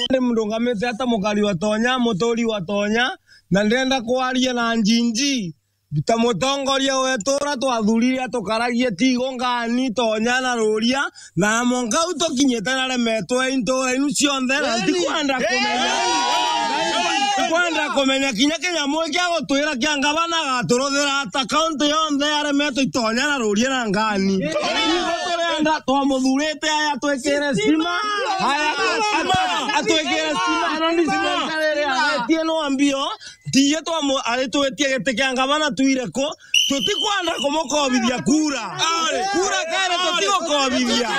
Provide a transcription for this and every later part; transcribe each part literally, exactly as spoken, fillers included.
Ndi mrungamite ata mukari wa Tonya, muturi wa Tonya, na ndenda kwaria na njinji. Ta mutongoria wetu uria twathurire atukaragie Tigo ngani, Tonya na Ruria, na mwanka u tukinyite na remetwe intura inu cionthe, na ntikwenda kumenya. Ntikwenda kumenya kinya kinyamu kia gutwira kia ngavana agaturuthira ata kaunti yonthe ya remetwe Itonya na Ruria na ngani. Ithu turenda twamuthurite aya atwikire stima, aya atwikire stima, na ni stima iria aretie no mbio. Tiye twamu-, aritwitie giti kia ngavana twire ku, tutikwenda kumukobithia kura. Kura kere tutigukobithia.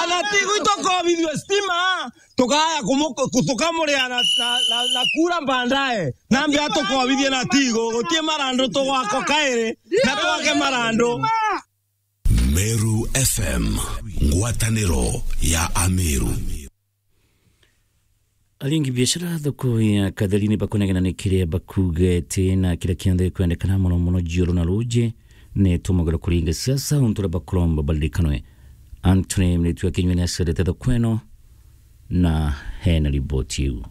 Ana Tigo itukobithua stima, tukaya kumu-, ku-, tukamuria na, na, na, na kura mbandae. Nambi atukobithie na Tigo, gutie marandu tugwako kairi, na twake marandu. Meru F M, ngwataniro ya Ameru. Aringi biashara thoko ya Katheri ni bakunegena ni kiria bakuga ati na kiria kionthe gikwendekana mono mono jiuru na ruji ni tumugiro kuringa siasa untu uria bakuromba baririkanwe. Anthony Miritu wa Kinyua ni acerete thoko ino na hena riboti iu.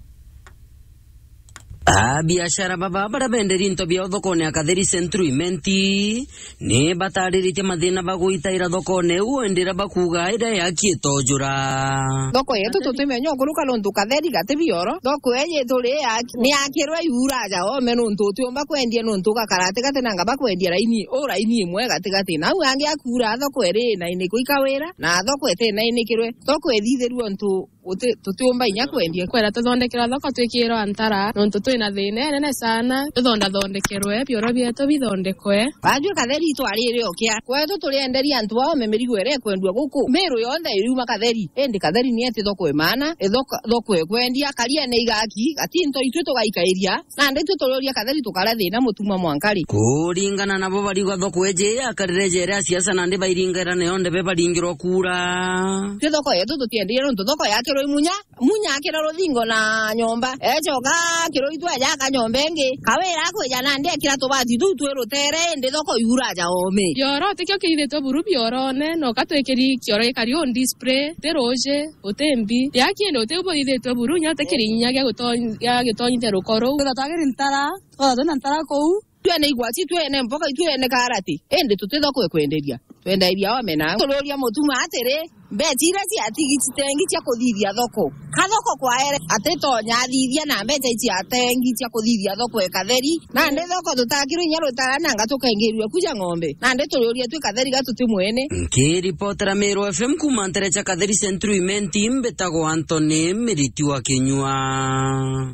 A biashara baba baria benderi into biao thokone ya Katheri Central Imenti ni batariritie mathina bagwitaira thokone iu, indi iria bakuuga iria yaki itojura. Thoko yetu tutimenya ukuruka nontu Katheri gati bioro. Thoko iji turi yaki-, ni yakirwe iura aja ome nontu utiumba kwendia nontu ugakara atigati na ngaba kwendia raini, u raini imwe gatigati. Nau angi akuura thoko iri na iniko ikawira, na thoko iti na inikirwe. Thoko ithithirue untu Guti-, tutiumba inya kwendia. Kwenda tuthondekerwa thoko twikirwa ntara, nontu twina thina inene sana. Tuthondathondekerwe, bioro bietu bithondekwe. Baajua Katheri itwarire ukia. Kwetu turienderia antu aome mirigo iria ikwendua guku. Miru yonthe iriuma Katheri. Indi Katheri ni eti thoko imana, ithoko-, thoko ikwendia, kariene igaki, gati into itwi tugaikairia. Nandi twi turiuria Katheri tukara thina mutuma mwanka ri? Kuringana nabo, bariuga thoko iji yakarire ja iria siasa, nandi bairingaira nayo ndebe baringirwa kura. Ti thoko yetu tutiendeire nontu thoko yakirwe imunya, munya akira ruthingo na nyomba. Ecoka akirwa itwe aja aka nyomba ingi. Kawira akwija nandi ekira tubati tuu twi rutere, indi thoko iura aja ome. Kioro tikio kiithitwe buru biorone, noka twikiri kioro gikari on display, ti ruji. Uti mbi. Yaki indi uti ubuthithitwe buru, inya uti kirinya gia guto-, gia gitonyithia ruko ruu. Twitha twagiri ntara, twitha twina ntara kuu. Twene igwati, twene mboga, twene karati. Indi tuti thoko ikwenderia. Twenderia omena. Tururia mutuma atiri, mbeca iria ciatigi citengi cia kuthithia thoko. Ka thoko kwaere, atitonya athithia na mbeca ici atengi cia kuthithia thoko e Katheri. Nandi thoko tutakirwe inya rutara nanga tukaingirua kuja ng'ombe. Nandi turiuria twi Katheri ga tuti mwene. Nkiripotera Meru F M kuuma ntere cia Katheri Central Imenti, mbitagwa Anthony Miriti wa Kinyua.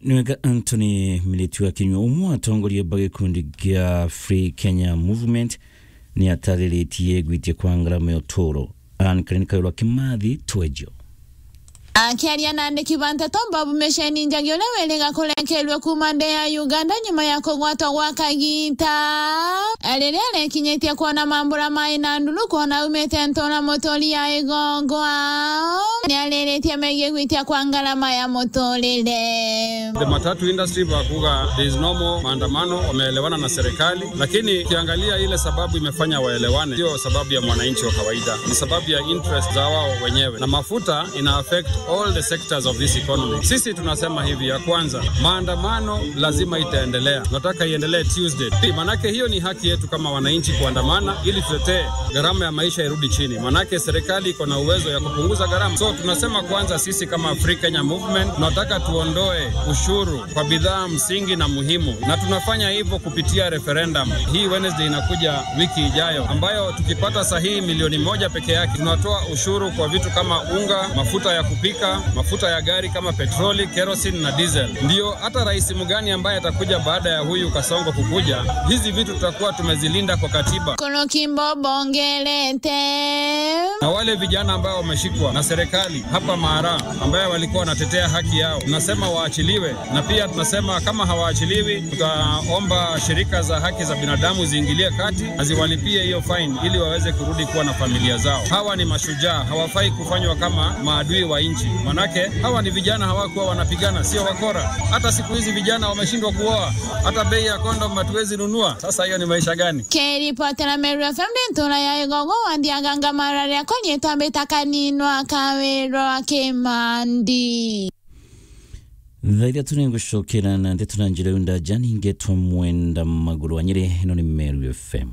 Ni wega Anthony Miriti wa Kinyua, umwe wa atongoria ba gikundi gia Free Kenya Movement, ni atariritie gwitia kwa ngarama ya uturo. Anne Karen Kayole wa Kimathi, Twejo. Akiaria na andiki ba nteto, Bob Mesheni Njagi, uria wiriga kurenkerua kuuma nthi ya Uganda nyuma ya kugwatwa gwa kagiita, riria arekinyitie kwona mambura mai na nduru kwona aumite ntura muturi ya Igongwa, ni ariritie megie gwitia kwa ngarama ya muturire. The matatu industry bakuga there is no more maandamano, wameelewana na serikali. Lakini ukiangalia ile sababu imefanya waelewane, sio sababu ya mwananchi wa kawaida, ni sababu ya interest za wao wenyewe, na mafuta ina affect all the sectors of this economy. Sisi tunasema hivi, ya kwanza, maandamano lazima itaendelea, nataka iendelee Tuesday, manake hiyo ni haki yetu kama wananchi kuandamana ili tutetee gharama ya maisha irudi chini, manake serikali iko na uwezo ya kupunguza gharama. So tunasema kwanza, sisi kama Free Kenya Movement tunataka tuondoe ushuru kwa bidhaa msingi na muhimu, na tunafanya hivyo kupitia referendum hii Wednesday inakuja wiki ijayo, ambayo tukipata sahihi milioni moja peke yake, tunatoa ushuru kwa vitu kama unga, mafuta ya kupika, mafuta ya gari kama petroli, kerosene na diesel. Ndio hata rais mgani ambaye atakuja baada ya huyu Kasongo kukuja, hizi vitu tutakuwa tumezilinda kwa katiba. Kono kimbo bongerete. Na wale vijana ambao wameshikwa na serikali hapa Mara, ambaye walikuwa wanatetea haki yao, tunasema waachiliwe, na pia tunasema kama hawaachiliwi, tutaomba shirika za haki za binadamu ziingilie kati na ziwalipie hiyo fine ili waweze kurudi kuwa na familia zao. Hawa ni mashujaa, hawafai kufanywa kama maadui wa nchi. Manake hawa ni vijana, hawakuwa wanapigana, sio wakora. Hata siku hizi vijana wameshindwa kuoa, hata bei ya kondom hatuwezi nunua. Sasa hiyo ni maisha gani? Kiripotera Meru F M ndi ntura ya Igogo, wa Ndiaganga Mararia, konyitwa mbita Kaninwa Kawirwa Kimandi. Thaa ithatũ nĩ ngũcokera na ndeto na njĩra yu ndaja, ningetwa Mwenda Magũrũ wa Nyĩrĩ, ĩno nĩ Meru F M.